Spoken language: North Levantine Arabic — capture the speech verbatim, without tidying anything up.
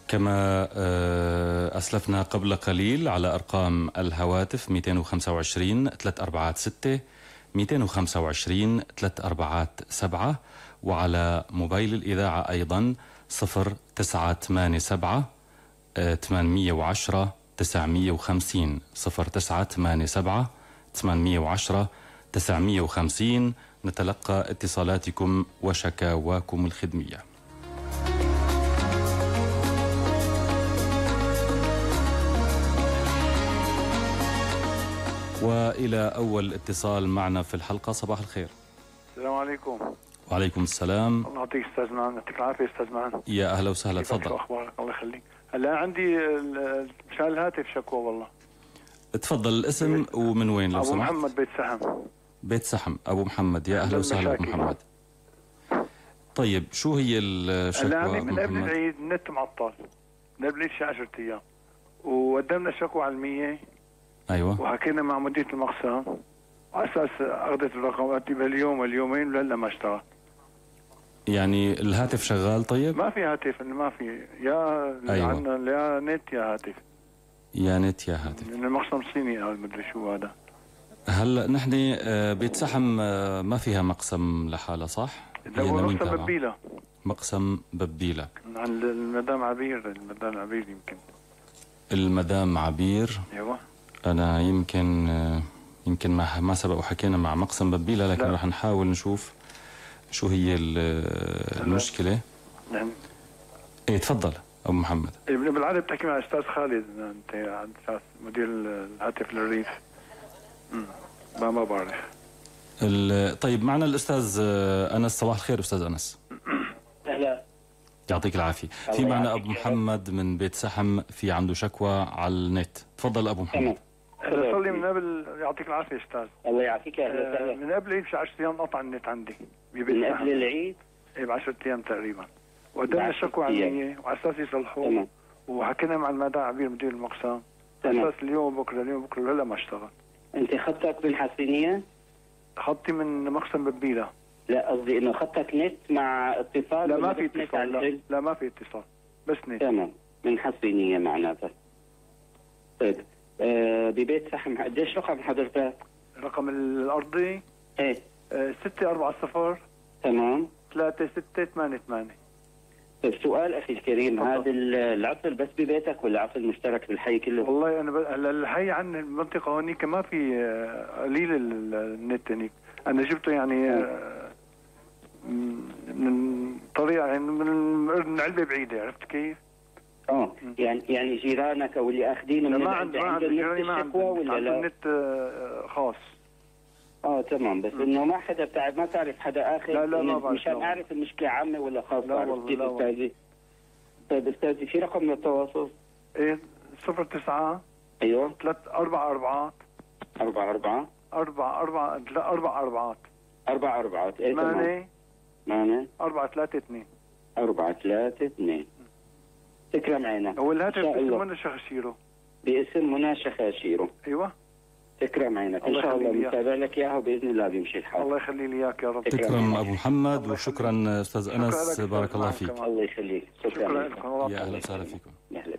كما أسلفنا قبل قليل على أرقام الهواتف مئتين وخمسة وعشرين ثلاثة أربعة ستة مئتين وخمسة وعشرين ثلاثة أربعة سبعة، وعلى موبايل الإذاعة أيضا صفر تسعة ثمانية سبعة ثمانمئة وعشرة تسعمئة وخمسين صفر تسعة ثمانية سبعة ثمانمئة وعشرة تسعمئة وخمسين. نتلقى اتصالاتكم وشكاواكم الخدمية. وإلى أول اتصال معنا في الحلقة. صباح الخير. السلام عليكم. وعليكم السلام. الله يعطيك استاذ معن، يعطيك العافية استاذ معن. يا أهلا وسهلا، تفضل. شو أخبارك؟ الله يخليك. هلا عندي مشان الهاتف شكوى والله. تفضل الاسم ومن وين لو أبو سمحت؟ محمد بيت سحم. بيت سحم أبو محمد، يا أهلا وسهلا أبو محمد. طيب شو هي الشكوى هلا عندي أبو من قبل محمد؟ العيد النت معطل، من قبل العيد شي عشرة أيام، وقدمنا شكوى علمية. أيوة. وحكينا مع مديرة المقسم على أساس أخذت الرقم، قالت لي باليوم واليومين ولهلا ما اشتغل. يعني الهاتف شغال؟ طيب ما في هاتف، ما في يا أيوة. عندنا يا نت يا هاتف. يا نت يا هاتف. من المقسم الصيني قال مدري شو هذا. هلا نحن بيت سحم ما فيها مقسم لحالها صح؟ لا هو مقسم ببيلة. مقسم ببيلة عند المدام عبير. المدام عبير يمكن. المدام عبير. ايوه. انا يمكن يمكن ما ما سبق وحكينا مع مقسم ببيلة، لكن لا. رح نحاول نشوف شو هي المشكلة. نعم. ايه تفضل ابو محمد. بالعاده بتحكي مع استاذ خالد، انت عند اساس مدير الهاتف للريف. امم ما ما بعرف. طيب معنا الاستاذ انس. صباح الخير استاذ انس. اهلا. يعطيك العافيه. في معنا ابو محمد من بيت سحم، في عنده شكوى على النت. تفضل ابو محمد. صار لي من قبل. يعطيك العافيه استاذ. الله يعافيك. اهلا وسهلا. من قبل العيد بشي عشرة ايام قطع النت عندي ببيت من سحم. قبل العيد؟ ايه ب عشرة ايام تقريبا. وقدمنا شكوى علميه وعلى اساس يصلحوه، وحكينا مع المدام عبير مدير المقسم على اساس اليوم وبكره اليوم وبكره هلا ما اشتغل. انت خطك بالحسينيه؟ خطي من مقسم ببيلة. لا قصدي انه خطك نت مع اتصال. لا ما في اتصال. لا, لا ما في اتصال، بس نت. تمام، من حسينيه معناتها. طيب آه ببيت سحم قديش رقم حضرتك؟ رقم الارضي ايه آه ستة أربعة صفر تمام ثلاثة ستة ثمانية ثمانية. طيب سؤال اخي الكريم، هذا العطل بس ببيتك ولا عطل مشترك بالحي كله؟ والله انا ب... الحي عن المنطقه هونيك ما في قليل النت هنيك. انا جبته يعني آه من طريقه يعني من علبه بعيده، عرفت كيف؟ اه يعني يعني جيرانك او اللي اخذينه من ما عند ما عند جيراني ما عند ولا لا؟ النت آه خاص. اه تمام، بس انه ما حدا بتاع ما تعرف حدا اخر. لا لا ما بعرف. مشان اعرف المشكله عامه ولا خاصه. لا والله لا والله. طيب استاذي في رقم للتواصل؟ ايه صفر تسعة ايوه ثلاث أربع أربعات أربعة أربعة أربع أربع لا أربع أربعات أربع أربعات ايه ثمانية ثمانية أربعة ثلاثة اثنين أربعة ثلاثة اثنين. تكرم عينك. هو الهاتف باسم منى شخشيرو. باسم منى شخاشيرو. ايوه. تكرم عينك ان شاء الله بنتابع لك اياها وباذن الله بيمشي الحال. الله يخلي لي اياك يا رب. تكرم ابو محمد وشكرا استاذ انس، بارك الله فيك. الله يخليك. شكرا لكم. يا اهلا وسهلا فيكم. يا اهلا.